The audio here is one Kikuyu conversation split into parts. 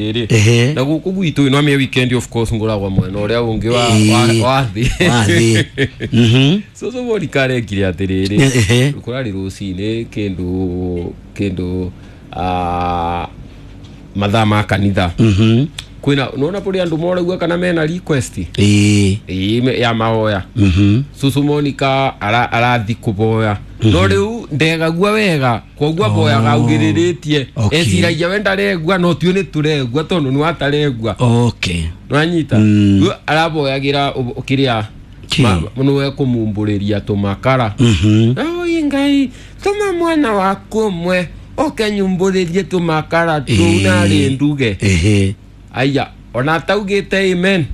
Ĩrĩ na gũkũ gwitũ ĩno amĩ weekend, of course, ngũragwa mwena ũrĩa ũngĩ wa wa thĩ. Wa thĩ. Cũcũ Monica arekire atĩrĩrĩ, kũrarĩ rũcinĩ kĩndũ mathaa ma kanitha. Kwĩna nona kũrĩ andũ moraigua kana mena request. Ĩĩ, ya mahoya. Cũcũ Monica arathi kũboya, no rĩu ndegagua wega, koguo aboyaga augĩrĩrĩtie. Eciragia we ndaregua, no tuĩ nĩ tũregua tondũ nĩ wataregua. Nwanyita? Rĩu araboyagĩra kĩrĩa nĩwe kũmumbũrĩria tũmakara. Oi Ngai, tũma mwana waku ũmwe oke nyumbũrĩrie tũmakara tũu narĩ nduge. Aya ona ataugĩte amen.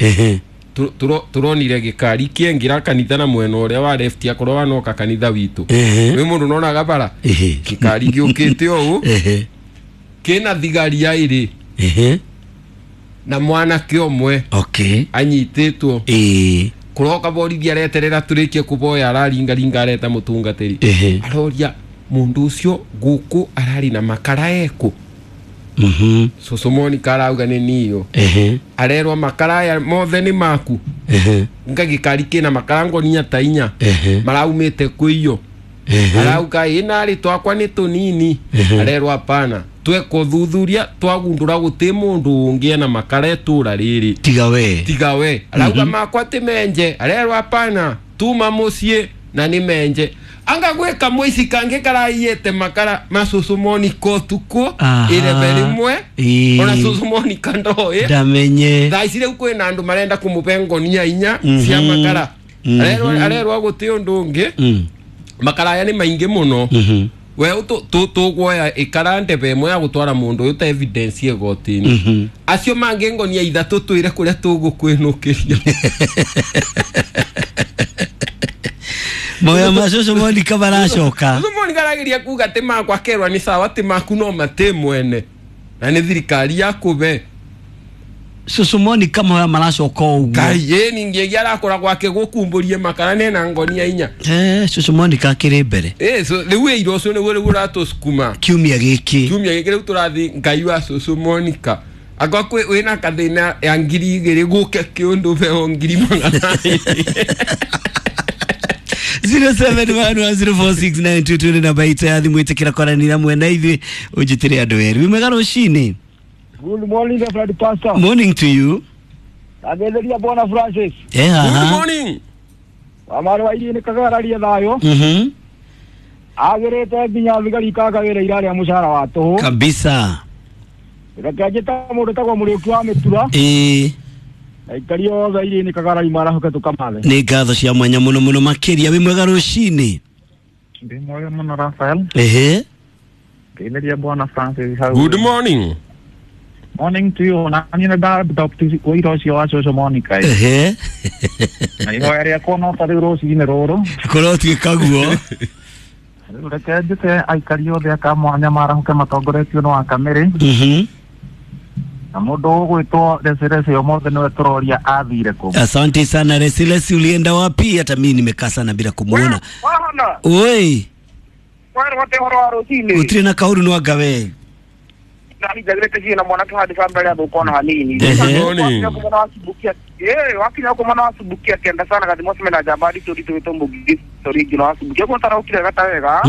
Turonire gĩkari kĩengĩra kanitha na mwena ũrĩa wa left, akorwo wanoka kanitha witũ. Wĩ mũndũ nonaga bara gĩkari gĩũkĩte ũũ kĩna thigari aĩrĩ na mwanake ũmwe anyitĩtwo. Kũroka borithi, areterera tũrĩkie kũboya, araringaringa, areta mũtungatĩri. Aroria mũndũ ũcio gũkũ ararĩ na makara ekũ. Cũcũ Monica arauga nĩ niyo. Arerwo makara aya mothe nĩ maku. Nga gĩkari kĩna makara ngonia ta 4. Maraumĩte kwĩyo. Arauga ĩ narĩ twakwa nĩ tũnini. Arerwo hapana, tweka ũthuthuria twagundũra gũtĩ mũndũ ũngĩ ena makara itũra rĩrĩ. Tiga we. Tiga we. Arauga makwa ti menje. Arerwo hapana, tuma mũciĩ na nĩ menje. Anga gwĩka mũici kangĩ karaiyĩte makara ma cũcũ Monica ũtukũ irebe rĩmwe. Ona cũcũ Monica ndoĩ. Ndamenye. Thaa ici rĩu kwĩna andũ marenda kũmũbe ngonia 4 cia makara. Arerwo gũtĩ ũndũ ũngĩ. Makara aya nĩ maingĩ mũno. We tũgwoya ĩkara ndebe ĩmwe ya gũtwara mũndũ ũyũ ta evidence igoti-inĩ. Acio mangĩ ngonia 3 twĩre kũrĩa tũgũkwĩnũkĩria. Moya ma cũcũ Monica maracoka. Cũcũ Monica arageria kuga atĩ makwa kerwa nĩ sawa, atĩ maku no matĩ mwene na nĩ thirikari yakũbe. Cũcũ Monica moya maracoka ũguo. Ngai ĩ ningĩ arakora gwake gũkumbũrie makara nena ngonia 4. Cũcũ Monica akĩrĩ mbere. So rĩu ĩira ũcio nĩguo rĩu ũratũcukuma. Kiumia gĩkĩ. Kiumia gĩkĩ rĩu tũrathiĩ Ngai wa cũcũ Monica. Akwa kwĩ wĩna kathĩna ya 2000 gũke kĩũndũ beo 200,000. 0711046922 namba itũ ya thimũ, ĩtĩkĩra kwaranĩria mwena ithuĩ ũnjĩtĩre andũ erĩ. Wĩ mwega rũcinĩ. Good morning, Reverend Pastor. Morning to you. Agetheria Bwana Francis. Good morning. Wamaro wa iria nĩ kagararia thayũ. Agĩrĩte nginya thigari ikakagĩra ira rĩa mũcara wa tũhũ. Kabisa. Reke njĩta mũndũ tagwo Mũrĩũki wa Mĩtura. Aikari othe iria nĩ kagarari marahoke tũkamathe. Nĩ ngatho cia mwanya mũno mũno makĩria. Wĩ mwega rũcinĩ. Ndĩ mwega mũno Raphael. Ngeithĩria Bwana Francis hau. Good morning. Morning to you. Na niĩ nĩ ndadopt ũira ũcio wa cũcũ Monica. Na ihoya rĩakwa no ta rĩu rũcinĩ rũrũ. Kũrotuĩka guo. Rĩu reke njĩte aikari othe a Kamwanya marahoke matongoretio nĩ Wakamĩrĩ. Na mũndũ ũgwĩtwo Resilesi ũmũthĩ nĩwe tũroria athire kũ. Asante sana Resilesi, ulienda wapi? Hata mimi nimekaa sana bila kumuona. Oi. Gũtirĩ na kaũru no anga we. Njagĩrĩte na mwanake handũ mbere athũka ona hanini. Wakinya kũ mwana wa Subukia kenda sana gathimo cime na njamba nditũ nditũ wĩtwo Mũgigi Sorigi na wa Subukia kũ taraũkire gata wega.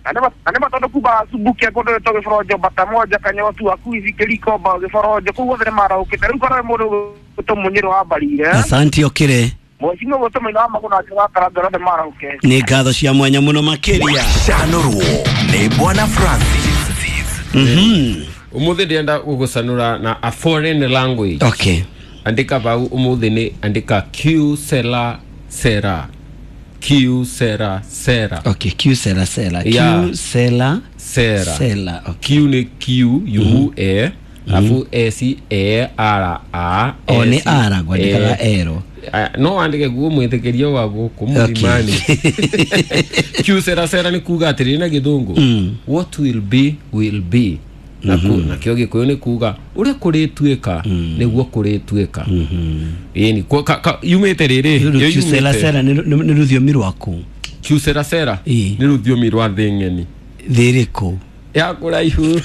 Na nĩ matondũ kumba Subukia kũndũ wĩtwo Gĩboronjo bata moja kanyotu akuici kĩriko mba Gĩboronjo kũu guothe nĩ maraũkĩte. Rĩu korwo mũndũ gwĩtwo Mũnyĩrĩ wa Mbarire. Asante okire. Mheshimiwa gwĩtwo Maina wa Magũrũ nake wa Karanga othe maraũke. Nĩ ngatho cia mwanya mũno makĩria. Canũrwo nĩ Bwana Francis. Ũmũthĩ ndĩrenda gũgũcanũra na a foreign language. Andĩka bau ũmũthĩ nĩ andĩka Q sera sera. Q sera sera. Okay, Q sera sera. Q sera sera. Sera. Q nĩ Q U E afu S E R A. O nĩ R ngwandĩkaga ero. No andĩke guo mwĩtĩkĩrio wa gũkũ mũlimani. Q sera sera nĩ kuga atĩrĩrĩ na gĩthũngũ. What will be will be. Nakĩo gĩkũyũ nĩ kuga ũrĩa kũrĩtuĩka nĩguo kũrĩtuĩka. Ĩni yumĩte rĩrĩ. Q sera sera nĩ rũthiomi rwaku. Q sera sera nĩ rũthiomi rwa thĩ ng'eni. Thĩ ĩrĩkũ? Ya kũraihu.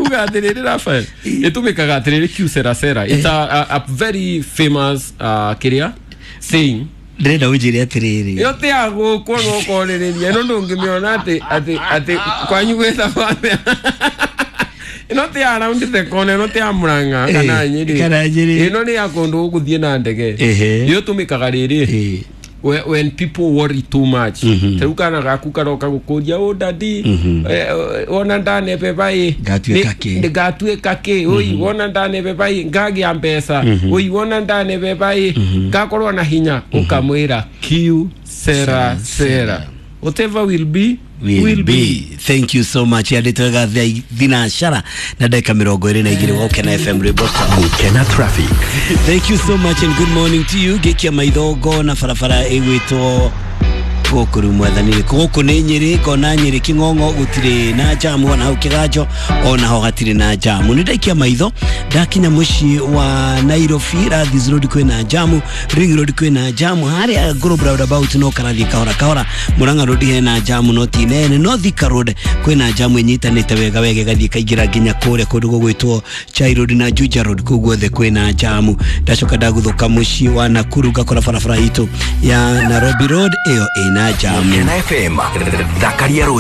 Kuga atĩrĩrĩ, Rafael, ĩtũmĩkaga atĩrĩrĩ, que sera sera. It's a very famous kĩrĩa saying. Ndĩrenda ũnjĩre atĩrĩrĩ. Ĩyo ti ya gũkwo no ũkorĩrĩria ĩno, ndũngĩmĩona atĩ kwanyu gwĩtagwo atĩa. Ĩno ti ya round the corner, ĩno ti ya Murang'a kana Nyĩrĩ. Kana Nyĩrĩ. Ĩno nĩ ya kũndũ ũgũthiĩ na ndege. Ĩyo tũmĩkaga rĩrĩ when people worry too much. Tarĩu kana gaku karoka gũkũria, "Oh daddy, wona ndanebeba ĩ, Ngatuĩka kĩ?" Ngatuĩka kĩ? Oi, wona ndanebeba ĩ, ngagĩa mbeca? Oi, wona ndanebeba ĩ, ngakorwo na hinya?" Ũkamwĩra, "Que sera sera, whatever will be will be." Thank you so much. Yandĩtwo wega 9:22 wa Ũkena FM, rwĩmbo Gukena traffic. Thank you so much and good morning to you. Ngĩkia maitho ngona barabara ĩgwĩtwo gũkũ rĩu mwathani gũkũ nĩ Nyĩrĩ, ngona Nyĩrĩ Kĩng'ong'o gũtirĩ na jamu, ona hau Kĩganjo ona ho hatirĩ na jamu. Nĩ ndaikia maitho ndakinya mũciĩ wa Nairobi, Rathis Road kwĩna jamu, Ring Road kwĩna jamu, harĩa Globe Roundabout no karathiĩ kahora kahora, Murang'a Road hena jamu no ti nene, no Thika Road kwĩna jamu ĩnyitanĩte wega wega ĩgathiĩ ĩkaingĩra nginya kũrĩa kũndũ gũgwĩtwo Chai Road na Juja Road, kũu guothe kwĩna jamu. Ndacoka ndaguthũka mũciĩ wa Nakuru ngakora barabara itũ ya Nairobi Road ĩyo ĩna jamu. Gukena FM, thakaria rũciũ.